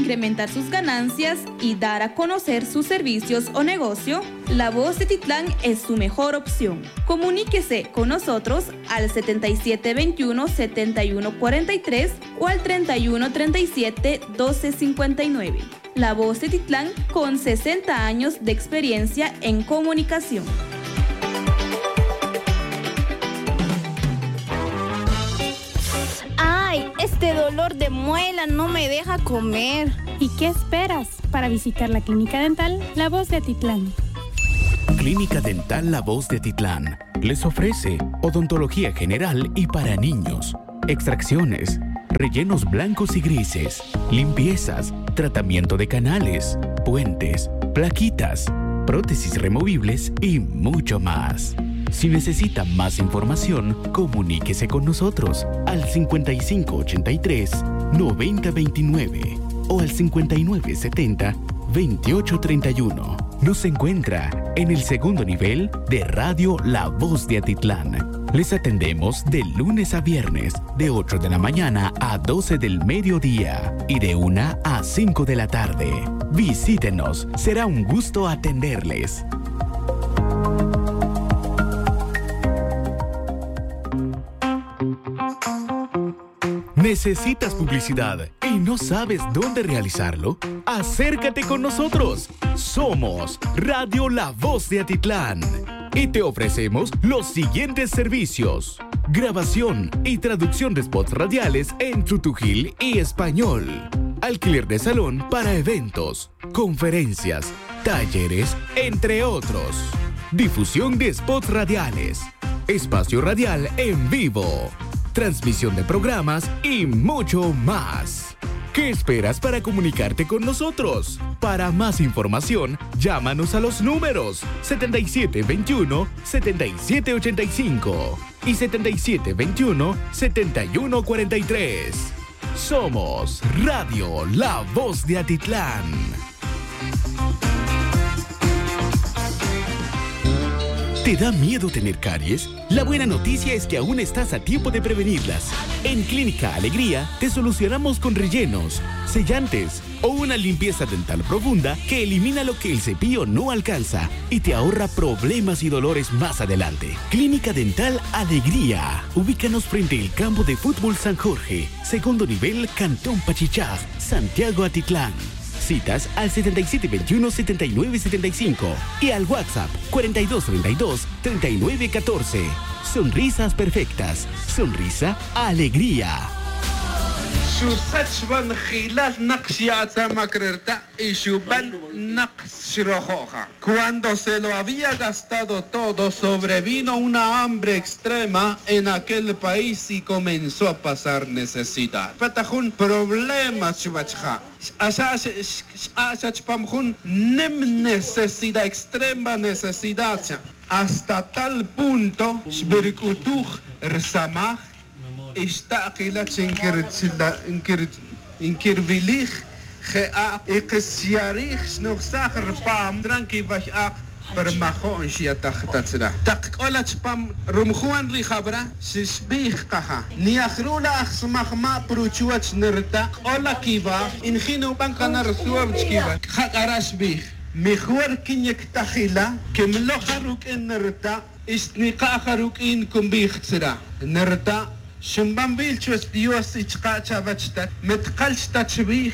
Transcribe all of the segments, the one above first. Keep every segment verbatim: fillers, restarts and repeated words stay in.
incrementar sus ganancias y dar a conocer sus servicios o negocio, La Voz de Titlán es su mejor opción. Comuníquese con nosotros al setenta y siete veintiuno, setenta y uno cuarenta y tres o al treinta y uno treinta y siete, doce cincuenta y nueve. La Voz de Titlán, con sesenta años de experiencia en comunicación. Ay, este dolor de muela no me deja comer. ¿Y qué esperas para visitar la Clínica Dental La Voz de Atitlán? Clínica Dental La Voz de Atitlán les ofrece odontología general y para niños, extracciones, rellenos blancos y grises, limpiezas, tratamiento de canales, puentes, plaquitas, prótesis removibles y mucho más. Si necesita más información, comuníquese con nosotros al cincuenta y cinco ochenta y tres, noventa veintinueve o al cincuenta y nueve setenta, veintiocho treinta y uno. Nos encuentra en el segundo nivel de Radio La Voz de Atitlán. Les atendemos de lunes a viernes, de ocho de la mañana a doce del mediodía y de una a cinco de la tarde. Visítenos, será un gusto atenderles. ¿Necesitas publicidad y no sabes dónde realizarlo? Acércate con nosotros. Somos Radio La Voz de Atitlán y te ofrecemos los siguientes servicios: grabación y traducción de spots radiales en tutujil y español, alquiler de salón para eventos, conferencias, talleres, entre otros. Difusión de spots radiales, espacio radial en vivo, transmisión de programas y mucho más. ¿Qué esperas para comunicarte con nosotros? Para más información, llámanos a los números setenta y siete veintiuno, setenta y siete ochenta y cinco y setenta y siete veintiuno, setenta y uno cuarenta y tres. Somos Radio La Voz de Atitlán. ¿Te da miedo tener caries? La buena noticia es que aún estás a tiempo de prevenirlas. En Clínica Alegría te solucionamos con rellenos, sellantes o una limpieza dental profunda que elimina lo que el cepillo no alcanza y te ahorra problemas y dolores más adelante. Clínica Dental Alegría. Ubícanos frente al campo de fútbol San Jorge, segundo nivel, Cantón Pachichaj, Santiago Atitlán. Citas al setenta y siete veintiuno, setenta y nueve setenta y cinco y al WhatsApp cuarenta y dos treinta y dos, treinta y nueve catorce. Sonrisas perfectas. Sonrisa, alegría. Xusach va njilal naq xya' atzamak re rta' y xuban naq xrojo' ja. Cuando se lo había gastado todo, sobrevino una hambre extrema en aquel país y comenzó a pasar necesidad. Pata jun problema chuwech ja. Xq'axa, xq'axa chupam jun nim necesidad, extrema necesidad cha. Hasta tal punto xbirc'utuj rsamaj y xta' kila chi nkirwilij je' ak' y kix xya' rij xnujsaj rpam tran kiway ak' pa rmajo'n xyataj ta chra. Tak k'ola chupam rumjuan ri jawra xbij kaja, ni aj ru' la aj smajma' pa ruchuwach nirta' k'ola kiwaj y nji' nuban kana' rsuab chikiwach. Jak'ara' xbij, mijor kin yektaj ila, kimloj ja ruk'in nirta' y xtnika' ja ruk'in kunbij chra. Nirta' xinban wil chuwech Dios y chka' chawech tat, mi tkalch ta chwij,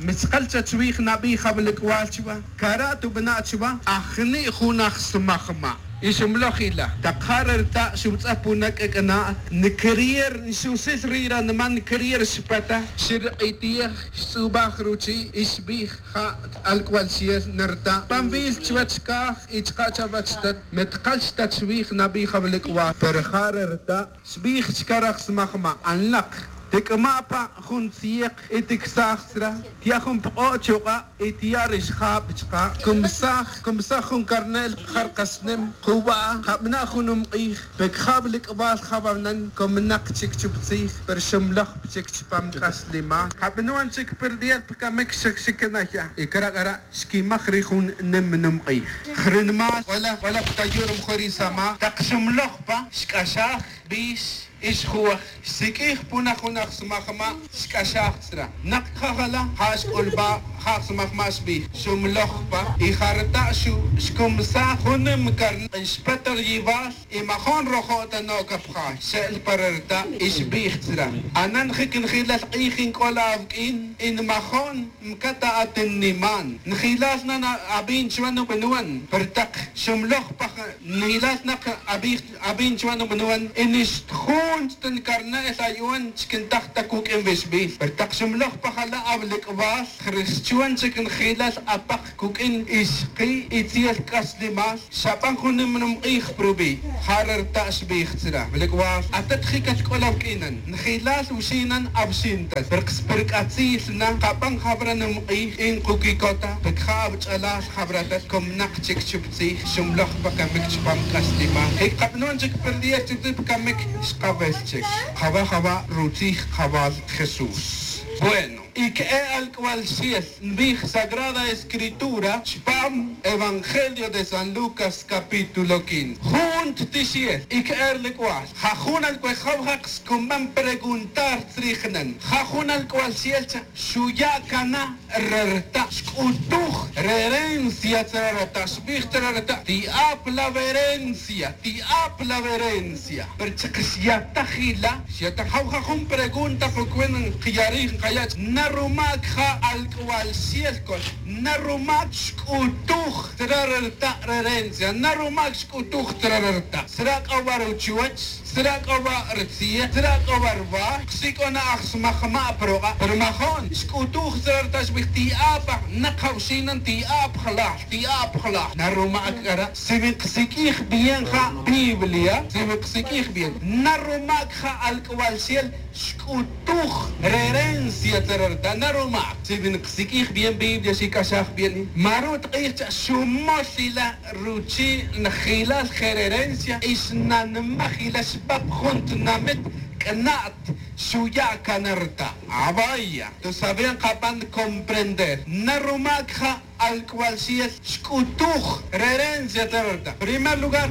mi tkalch ta chwij nabi jawilk'wal chwa, kara' tubana' chwa, ajni' jun aj smajma'. Y xinmloj ila, tak ja re rta' xinwutz'aj pa una k'ak'ana', nkirier nxusil ri' ranman, nkirier xpata, xirq'itej, xtz'ubaj ruchi' y xbij ja alk'wal xiel nirta'. Pan wil chuwech kaj y chka' chawech tat, mi tkalch ta chwij nabi jawilk'wal, pero ja re rta' xbij chka raj smajma', anlaq, tik'ma' pa jun tzieq y tiksaj chra, tya' jun pk'o' chuk'a' y tya' ri xjab chka', kumsaj, kumsaj jun karne'l ja rkasnem, kuwa', kabana' jun numq'ij, pe kjawilk'wal jawanan, kuminaq chik chup tzij, pero xinmloj chik chupam k'aslimal, kabanon chik perder pa kamik xik xiknaya y kara' kara' xkimaj ri jun nim numq'ij. Jrinmal k'ola, k'ola pa ta yurum jun ri samaj, tak xinmloj pa, xk'axaj, bix, Ix juwaj, xsiq'uij puna jun aj smajma', xc'axaj tzra. Nak cajala' ja' xc'ulba ja' aj smajma' xbij, xumloj pa y ja reta' xcumsaj jun nimcar xpet riyibal y majon rojo' ta no' capjay xe'l pa re reta' y xbij tzra, anan jic njilal k'ij nc'ol awuq'uin y nmajon mcata atinniman njilal na abin chuwan ubinwan. Pero tak xumloj pa njilal na abij abin chuwan ubinwan y nixtjun chta ncarne'l ayuwan chic ntaj ta cuq'uin wixbil. Pero tak xumloj pa jala' awlic'bal jrix chuwan chic njilal apak cuq'uin ixki' itziel c'aslimal xaban jun nimrumk'ij prubi'. Ja re reta' xbij tzra, wilic'bal atet jic atc'ol awuq'uinan njilal wuxinan awuxintal pero kspirc'atzil na kaban jawra nimk'ij y nkuquicota pe cja awuch'alal jawra atet comnak chic chup tzij xumloj pa camic chupam c'aslimal y kabanon chic perdier chup tzij pa camic xkawel chic. Jawa jawa' rutzij kajawal jesús. Bueno, y que'e alc'wal xiel nbij sagrada escritura chupam evangelio de san lucas capítulo quince jun ttixiel y que'e rlic'wal ja jun alc'wal jaw jaq scuman preguntar tzrij nen ja jun alc'wal xiel cha xuya' cana re rta' xc'utuj re herencia tzra re rta' xbij tzra re rta' ti'ap la werencia ti'ap la werencia. Pero chik xyataj ila xyataj jaw ja jun pregunta pa cuenta nkiyarij nkaya' na rumac ja alc'wal xiel col na rumac xc'utuj tzra re rta' re herencia na rumac xc'utuj tzra re rta' tzra c'o wa ruchuwech tzra c'o wa' rtziej tzra c'o wa' rwar ksic'o na aj smajma' pa ruk'a' pero majon xc'utuj tzra rta' xbij ti'ap aj na kjawxinan ti'ap jalal ti'ap jalal na rumac c'ara' si wi kasiq'uij bien ja biblia si wi kasiq'uij bien na rumac ja alc'wal xiel xc'utuj re herencia tzra rta' na rumac si wi kasiq'uij bien biblia xic'axaj bien ma ru' tk'ij cha xumol ila ruchi' njilal je re herencia y xnanmaj ila xpap jun tinamit c'na'at xuya' cana rta' avaya. Tus saben kaban comprender na rumac ja alc'wal xiel xc'utuj re herencia tzra re rta' primer lugar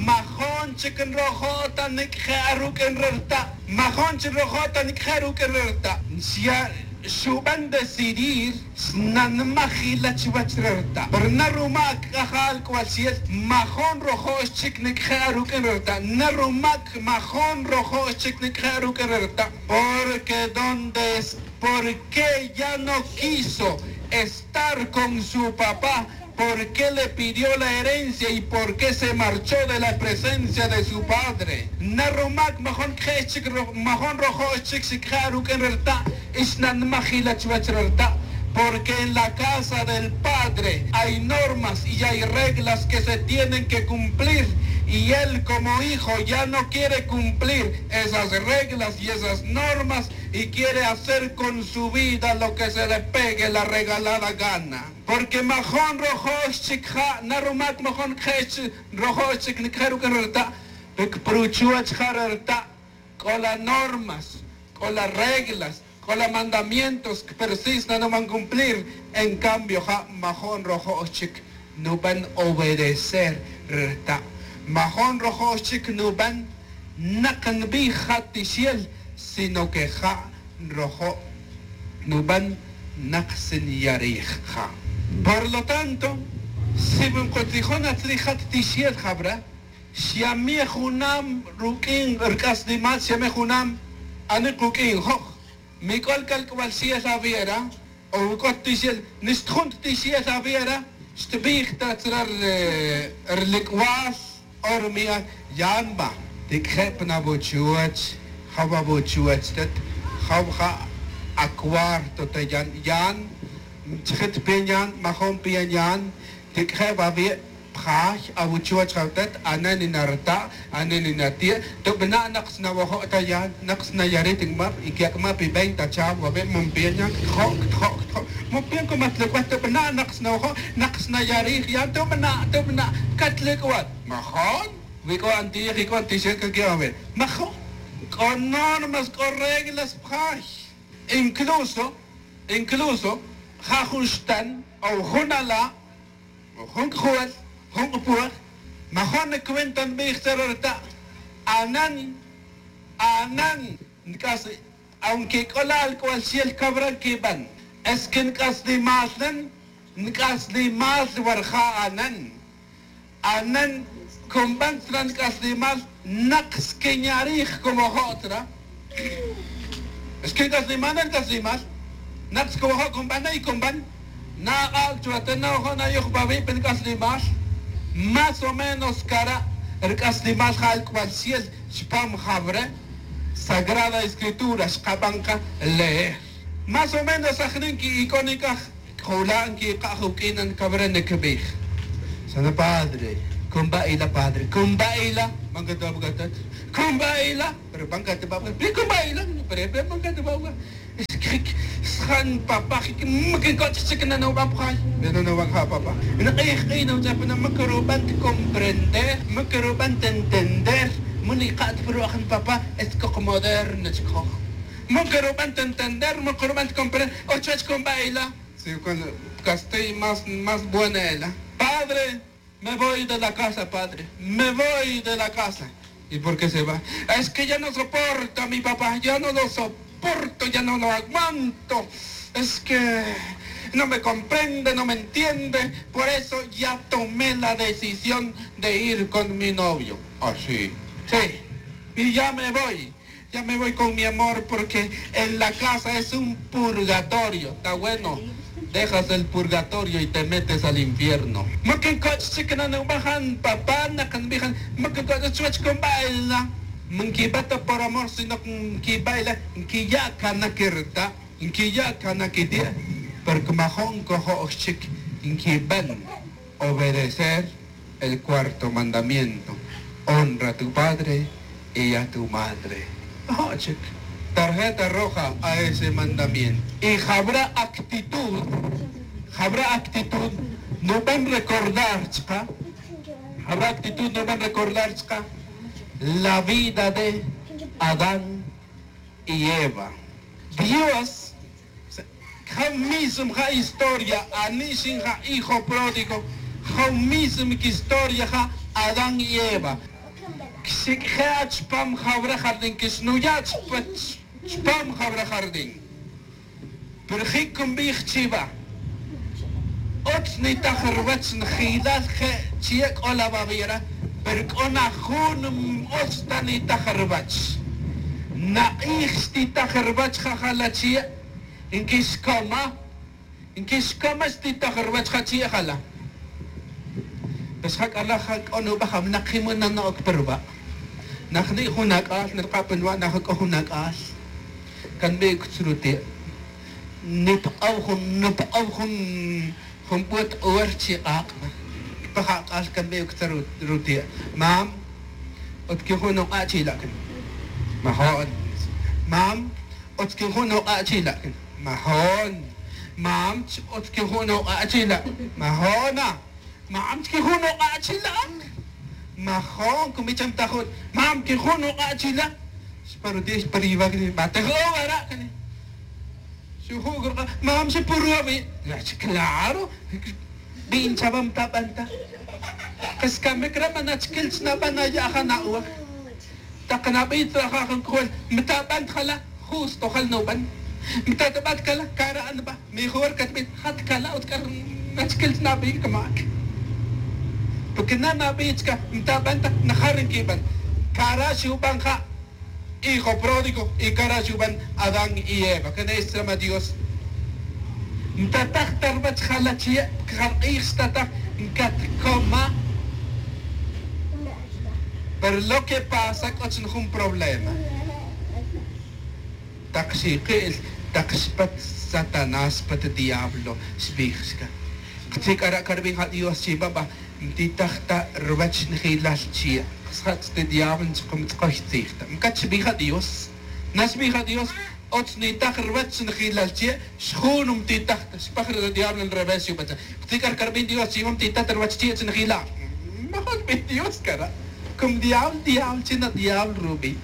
majon chic nrojo' ta nic'je' aruq'uin re rta' majon chic nrojo' ta nic'je' aruq'uin re rta' xya' xuban decidir xnanmaj ila chuwech re rta' pero na rumac c'a ja alc'wal xiel majon rojo' xchic nic'je' aruq'uin re rta' na rumac majon rojo' xchic nic'je' aruq'uin re rta' porque donde es porque ya no quiso estar con su papá porque le pidió la herencia y porque se marchó de la presencia de su padre na rumac majon cje' xchic majon rojo' xchic xicje' aruq'uin re rta' y xnanmaj ila chuwech re rta' porque en la casa del padre hay normas y hay reglas que se tienen que cumplir y él como hijo ya no quiere cumplir esas reglas y esas normas y quiere hacer con su vida lo que se le pegue la regalada gana. Porque majon rojo' xchic ja na rumac majon cje' xchic rojo' xchic nic'je' ruq'uin re rta' pe cpruchuwech ja re rta' c'o la normas c'o la reglas c'o la mandamientos cpersisna nuban cumplir. En cambio ja majon rojo' xchic nuban obedecer re rta' majon rojo' xchic nuban nak nbij ja tixiel sino que ja nrojo' nuban nak si nyarij ja. Por lo tanto si wi nkotzijon atzrij ja ttixiel jawra xyamej junam ruq'uin rc'aslimal xyamej junam ani kuq'uin joj mi c'ol calc'wal xiel awiera o wi c'o ttixiel nixtjun ttixiel awiera xtbij ta tzra rlic'wal o rumi'al yan ba tic'je' pan awuchuwech jaw awuchuwech tet jaw ja acuarto ta yan yan chijit pian yan majon pian yan tic'je' wawi' pjay awuchuwech jaw tet anen in arta' anen in ati' tubana' nak sna wajo' ta yan nak sna yarit in map y que ak'ma' pi veinte achaw wawi' mumpian yan ctjo' ctjo' ctjo' mumpian como atlic'wat tubana' nak sna wajo' nak sna yarij yan tubana' tubana' catlic'wat majon wi c'o antiyej y c'o antixel caque' wawi' majon c'o normas c'o reglas pjay incluso incluso ja jun xtan o jun ala' o jun c'jol jun c'puej majon nicuenta nbij tzara' rta' anan Anan nc'as, aunque c'o la alc'bal ciel cabra nquiban, es que nc'aslimal nan, nc'aslimal wara ja' anan. Anan cunban tzra nc'aslimal, nak squinya' rij como jo' tzra. Es que nc'aslimal nan, nc'aslimal nak como jo' cunban y cunban. Nak'ak' chuwa ta nojo' nayuj pa wi' pa nc'aslimal. Más o menos cara' rc'aslimal ja alc'bal ciel chupam jawre'. Sagrada Escritura xkaban ka leer. Más o menos ajni' nqui'ic'on ic'aj. C'o wula' nquikaj uq'uinan cawre' nicabij. Sana padre, cumba ila padre, cumba ila. Man catibabca tat, cumba ila. Pero pan catibabca, pero cumba ila. Pero pero pan catibabca. Sjan papá jic. Macancoch' chic nanobabjay. Nanobabja papá. Nak'ij k'ij nawtz'apana macarobant comprender, macarobant entender. Munika'at pero ajni papá es coc moderno chic joj. Macarobant entender, macarobant comprender. Ochach cumba ila. Si con castellano más más buena ela. Padre, me voy de la casa padre, me voy de la casa. Y por qué se va? Es que ya no soporto a mi papá, ya no lo soporto, ya no lo aguanto. Es que no me comprende, no me entiende. Por eso ya tomé la decisión de ir con mi novio. Así. Sí. Y ya me voy. Ya me voy con mi amor porque en la casa es un purgatorio. Está bueno. Dejas el purgatorio y te metes al infierno. Macancoch' chic nanobabjan papá, nak nbijan macancoch' chuwech cumba ila. Manquibata por amor sino nquibaila. Nquiya' cana quirta', nquiya' cana quiti'. Porque majo'n cojo'x chic nquiban obedecer el cuarto mandamiento. Honra a tu padre y a tu madre. Ajo' chic. Tarjeta roja a ese mandamiento. Y jawra actitud, jawra actitud nuban recordar chka. Jawra actitud nuban recordar chka la vida de Adán y Eva. Dios ja' mismo ja' historia. Ani' xin ja' hijo pródigo. Ja' mismo historia ja' Adán y Eva. Xic'je' chupam jawra jardín, quixnuya' chupam jawra jardín. Pero jic cunbij chiva. Utz nitaj ruwech njilal je' chie' c'o la wawira. Pero c'o na jun utz ta nitaj ruwech. Nak'ij xtitaj ruwech ja jala chie'. Nquixcoma, nquixcoma xtitaj ruwech ja chie' jala. Pues ja c'ala' ja c'o nuba' ja winak jimon nano'oc pa ruba'. Najni' jun ac'al nrka' pa nuba' na ja c'o jun ac'al. Can bi' cutz ruti'. Nipk'ow jun nipk'ow jun jun bot hor chik'ak'. Pa ja ac'al can bi' cutz ruti'. Mam, utz quijun nuk'a' chila' can. Majo'n. Mam, utz quijun nuk'a' chila' can. Majo'n. Mam, utz quijun nuk'a' chila'. Majo'na. Mam, utz quijun nuk'a' chila'. Majo'n. Cumi cham ta jun. Mam, quijun nuk'a' chila'. Xpa ruti' xpa riwa' cani. Batej o wara' cani. Xuju' curka'. Mam, xipurwa wi'. Claro. Bin chawa mtaban ta. Kas camic re' man achquil chnaban aya' ja na'wa. Tak nabi' traja jun cojol mtaban ta jala'. Justo jal nuban. Mtatbat cala' cara' nba. Mejor catbij jat cala' utz c'a nachquil chnabi' camac. Porque na nabi' chca mtaban ta najar nquiban. Cara' xuban ja hijo pródigo y cara' xuban Adán y Eva. Can es tzrama Dios. Ntataj ta ruwech jala' chie' porque ja rk'ij xtataj ncatcoma. Pero lo que pasa c'o chun jun problema. Tak xiki'l tak xpat Satanás xpat diablo xbij xca. Ktzi' c'ara' ca rubij ja Dios chi baba. Ntitaj ta ruwech njilal chie'. Xjatz' ti diablo nchkumitz'koy tzij ta ncat xbij ja Dios. Na xbij ja Dios. Utz nitaj ruwech njilal chie'. Xjun ntitaj ta xpaj re diablo nrevés xubetza. Ktzi' c'ara' ca rubij Dios chi baba ntitaj ta ruwech chie' chi njila'. Majun xbij Dios cara'. Cum diablo diablo chi na diablo rubij.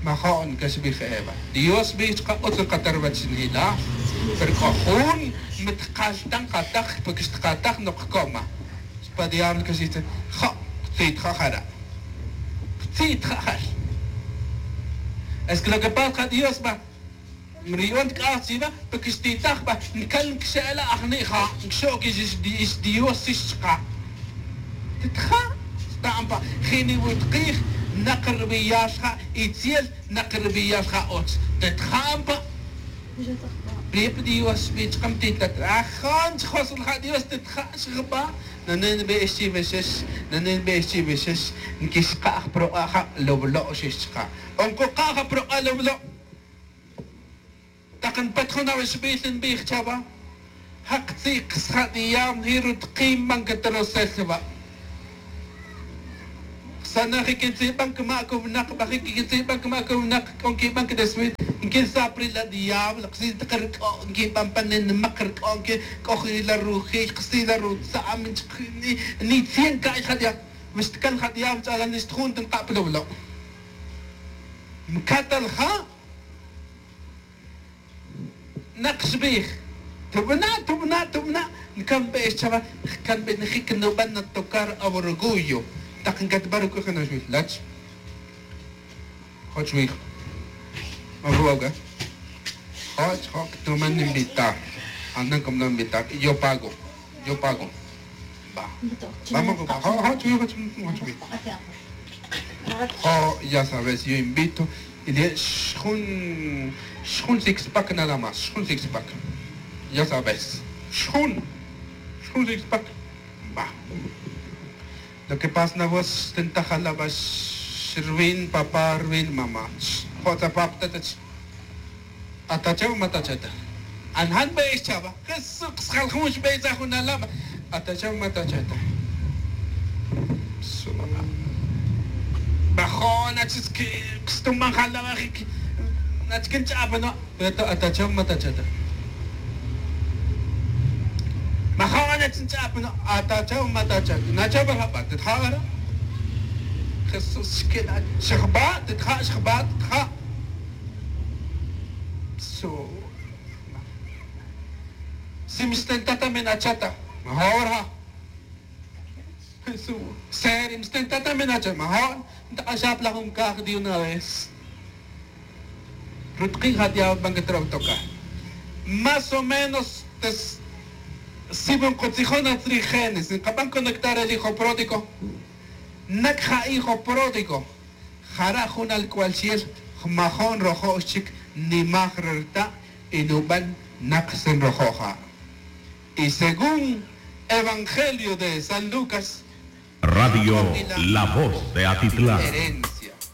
Majo'n ca xbij Eva. Dios xbij chka utz nkata ruwech nila. Pero c'o jun mi tkal ta nkataj porque xtkataj nok coma. Xpa diablo ca xbij. Jo' tzitja jara'. Tzi' tja' jal. Es que lo que pasa ja dios ba, ri yu'on tk'aj chiva porque xtitaj ba ncal nxe'la ajni' ja nxo'k ix dios ix chka'. Titja'. Xta'an pa jini wi tkij. Nak ribiyal ja itziel, nak ribiyal ja och. Titja'an pa. Ri pa dios xbi chka mtitat ajon chjosul ja dios titja' xjba. Nanen be ix chive xex. Nanen be ix chive xex. Nquixka' aj prok'a' ja loblo' xex chka'. O nkuka' ja prok'a' loblo'. Tak npet jun awixbil nbij chawa. Jak tzi' kxja' diablo nji rutki' nban keterosel wa'. Xsana' ji' quintzi'ban cama' cownak baji' quintzi'ban cama' cownak c'o nquiban quideswir. Nquinsapri la diablo kxi' tak rc'o' nquiban pa ninimak rc'o' nqui c'o ji' la ruji' kxi' la rutza'am. Nchki' ni cien ca'y ja diablo. Wi xtcan ja diablo ch'alan nixtjun ta nka' plowlo'. Ncatal ja. Nak xbij. Tubana' tubana' tubana'. Ncan be ix chawa. Jcan be njic nuban natocar aworgullo. Tak ncatba ruc'uj jun axbij lach. Joch wij. Majuwa' uke. Joch joc tuman invitar. Andan como no invitar yo pago. Yo pago. Ba. Vamos, joch wij joch wij. Jo ya sabes yo invito. Y de xjun xjun sixpac nada más xjun sixpac. Ya sabes xjun xjun sixpac. Ba. Lo que pasa na vos xtintaj alaba xrwin papá rwin mamá. Jo' tzapap tatach. Atachaw matachata. Anjan be ix chaba. Jesús xjal jun xbe tzaj jun alaba. Atachaw matachata. Bajo' nachis que xtuman jalaba jik. Nachkin ch'apano. Pero atachaw matachata. Majo' nachin ch'apano. Atachaw matachata. Nachaw bajaba titja' ara. Jesús xquina. Xajba titja' xajba titja'. Su. Si mistentata minachata. Majo' ara. Jesús. Seri mistentata minachata majo'. Ntak'axaplaj jun caj de una vez. Rutki' ja diablo ban que trabtoca. Más o menos. Si nkutzijona tzri génesis nkaban conectar el hijo pródigo. Nak ja hijo pródigo. Jara' jun alc'ual chi'el. Jmajo'n rojo' xchic nimaj re rta'. Y nuban nak xsin rojo' ja'. Y según evangelio de san lucas. Radio la voz de atitlán.